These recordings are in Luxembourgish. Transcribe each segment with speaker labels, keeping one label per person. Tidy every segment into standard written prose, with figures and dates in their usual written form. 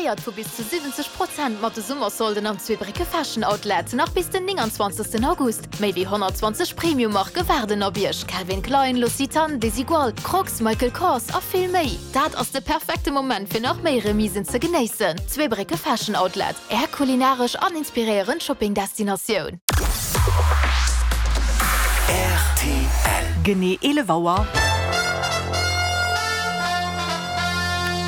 Speaker 1: Profitéiert vu bis zu 70 Prozent mat de Summersolden am Zweebrécke Fashion Outlet, nach bis den 29 August. Méi wéi 120 Premium-Marke waarden op Iech, Calvin Klein, L'Occitane, Desigual, Crocs, Michael Kors a vill méi. Dat ass de perfekte Moment fir nach méi Remisen ze genéissen. Zweebrécke Fashion Outlet, Är kulinaresch an inspiréierend Shopping-Destinatioun.
Speaker 2: Rtl.
Speaker 3: Genee 11 Auer.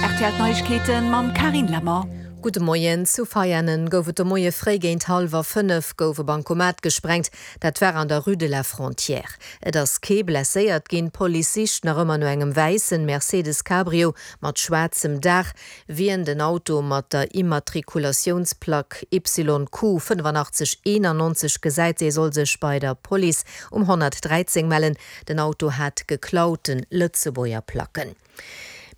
Speaker 3: Rtl D'Neiegkeeten mam Carine Lemmer.
Speaker 4: Gudde Moien. Zu Veianen gouf et de Moie fréi géint hallwer 5 gouf e Bancomat gesprengt. Dat war an der Rue de la Frontière. Et ass kee blesséiert ginn. D'Police sicht nach ëmmer no engem wäissen Mercedes Cabrio mat schwaarzem Daach. Wien den Auto mat der Immatrikulatiounsplack YQ 85 91 gesäit, dee soll sech bei der Police um 113 mellen. Den Auto hat geklaute Lëtzebuerger Placken.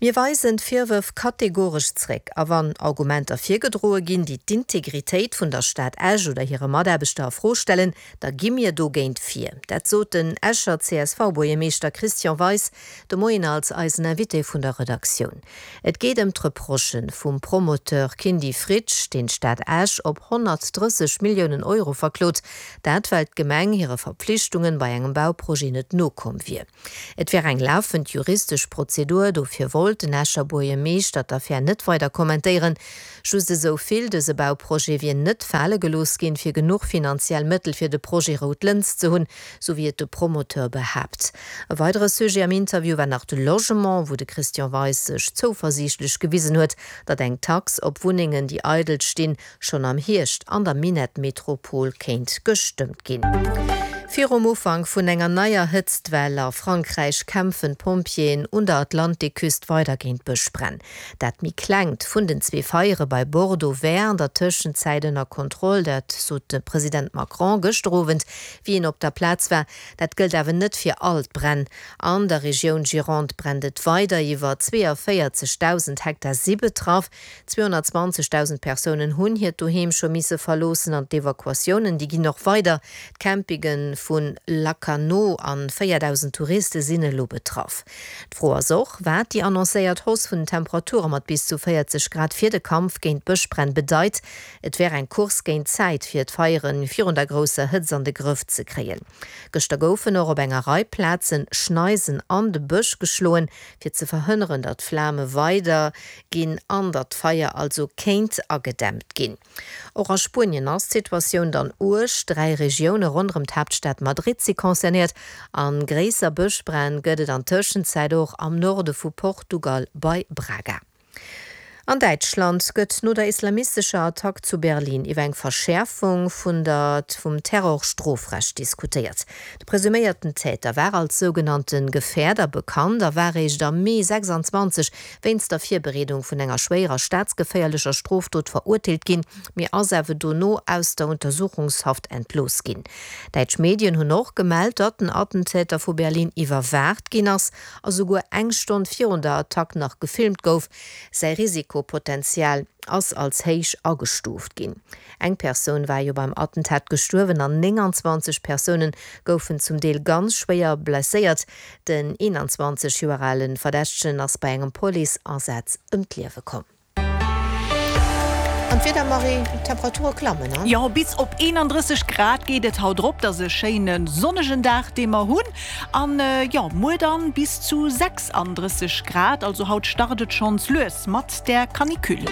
Speaker 4: Mir weisen d'Virwërf kategoresch zréck. A wann Argumenter virgedroe ginn, déi d'Integritéit vun der Stad Esch oder hire Mataarbechter a Fro stellen, da gi mir dogéint vir. Dat sot den Escher CSV-Buergermeeschter Christian Weis de Moien als eisen Invité vun der Redaktioun. Et geet ëm d'Reprochë vum Promoteur Kindy Fritsch, deen d'Stad Esch op 130 Milliounen Euro verklot. Dat well d'Gemeng hire Verpflichtungen bei engem Bauprojet net nokomm wier. Et wär eng lafend juristesch Prozedur, dofir wollt den Escher Buergermeeschter d'Affär net weider kommentéieren. Just esou vill, Dëse Bauprojet wier net fale gelooss ginn, fir genuch finanziell Mëttel fir de Projet Rout Lëns ze hunn, sou wéi et de Promoteur behaapt. E weidere Sujet am Interview war nach de Logement, wou de Christian Weis sech zouversiichtlech gewisen huet, datt eng Tax op Wunnengen, déi eidel stinn, schonn am Hierscht an der Minettmetropol kéint gestëmmt ginn. Virum Ufank vun enger neier Hëtztwell a Frankräich kämpfen d'Pompjeeën un der Atlantikküst weider géint Bëschbränn. Dat méi klengt vun den zwee Feiere bei Bordeaux wär an der Tëschenzäit ënner Kontroll, dat sot de President Macron gëschter Owend, wéi en op der Plaz war. Dat gëllt awer net fir all d'Bränn. An der Regioun Gironde brennt et weider, iwwer 42.000 Hektar si betraff. 220.000 Persounen hunn hiert Doheem scho misse verloossen an d'Evakuatiounen, déi ginn och weider. D'Campinge vu Lacanau an 4.000 Touriste sinn elo betraff. D'Fro ass och, wat déi annoncéiert Hausse vun den Temperature mat bis zu 40 Grad fir de Kampf géint d'Bëschbränn bedeit. Et wär eng Course géint d'Zäit, fir d'Feiere virun der grousser Hëtzt an de Grëff ze kréien. Gëschter goufen och op enger Rei Plazen Schneisen an de Bësch geschloen, fir ze verhënneren, datt d'Flame weider ginn an datt d'Feier also kéint agedämmt ginn. Och a Spuenien ass d'Situatioun dann uerg. 3 Regioune ronderëm d'Haaptstad Madrid si concernéiert an gréisser Bëschbränn gëtt et an Tëschenzäit och am Norde vu Portugal bei Braga. An Däitschland gëtt no der islamistescher Attack zu Berlin iwwer eng Verschäerfung vun der vum Terrorstrofrecht diskutéiert. De presuméierten Täter war als sougenannte Gefährder bekannt a war réischt am Mee 26 wéinst der Virbereedung vun enger schwéierer staatsgeféierlecher Strofdot verurteelt ginn, mee ass awer dono aus der Untersuchungshaft entlooss ginn. Däitsch Medien hunn och gemellt, datt den Attentäter vu Berlin iwwerwaacht ginn ass a souguer eng Stonn virun der Attack nach gefilmt gouf. Säi Risikopotenzial ass als héich agestuuft ginn. Eng Persoun war jo beim Attentat gestuerwen an 29 Persoune goufen zum Deel ganz schwéier blesséiert. Den 21 Joer ale Verdächtegen ass bei engem Police-Asaz ëm d'Liewe komm. An d'Wieder, Marie, d'Temperature klammen, an?
Speaker 3: Jo, bis op 31 Grad geet et haut rop. Et ass e schéine sonnegen Dag, dee mer hunn. An jo, muer dann bis zu 36 Grad. Also haut start et schonns lues mat der Canicule.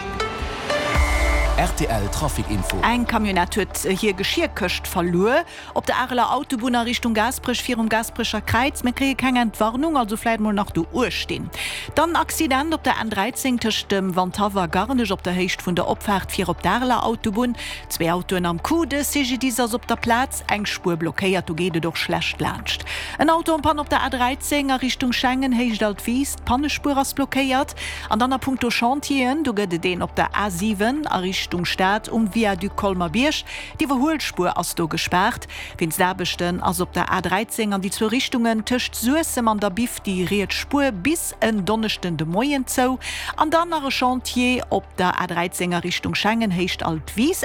Speaker 2: Rtl Trafic Info.
Speaker 3: Eng Camionnette huet hir Geschierkëscht verluer. Op der Areler Autobunn a Richtung Gaasperech virum Gaasperecher Kräiz. Mir kréie keng Entwarnung, also vläit mol nach do uechtinn. Dann Accident op der N 13 tëscht dem Wandhaff a Garnech op der Héicht vun der Opfaart fir op d'Areler Autobunn. Zwee Autoen am Coup, de CGDIS ass op der Plaz, eng Spuer blockéiert, do geet et och schlecht laanscht. En Auto en panne op der A 13 a Richtung Schengen, Héicht Altwis, d'Pannespuer ass blockéiert. An dann a punkto Chantieren, do gëtt et een op der A 7 a Richtung Stad um Viaduc Colmer-Bierg. D'Iwwerhuelspuer ass do gespaart. Wéinst Aarbechten ass op der A 13 an déi zwou Richtungen tëscht Suessem an der Biff déi riets Spuer bis en Donneschden de Moien zou. An dann nach e Chantier op der A 13 a Richtung Schengen, Héicht Altwis.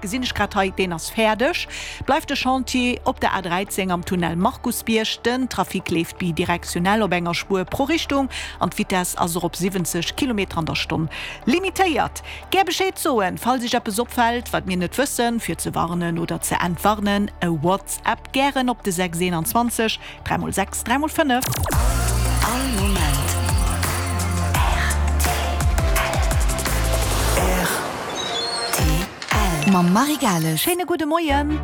Speaker 3: Gesinn ech grad hei, deen ass fäerdeg. Bleift de Chantier op der A 13 am Tunnel Markusbierg. Den Trafic leeft bidirektionell op enger Spuer pro Richtung an d'Vitess ass och op 70 Kilometer an der Stonn limitéiert. Gär Bescheed soen, falls Iech eppes opfält, wat mir net wëssen, fir ze warnen oder ze entwarnen. E WhatsApp gären op de 6 21 3 x 6 3 x 5.
Speaker 2: All Moment rtl.
Speaker 1: Mam Marie Gales.
Speaker 3: Schéine gudde Moien.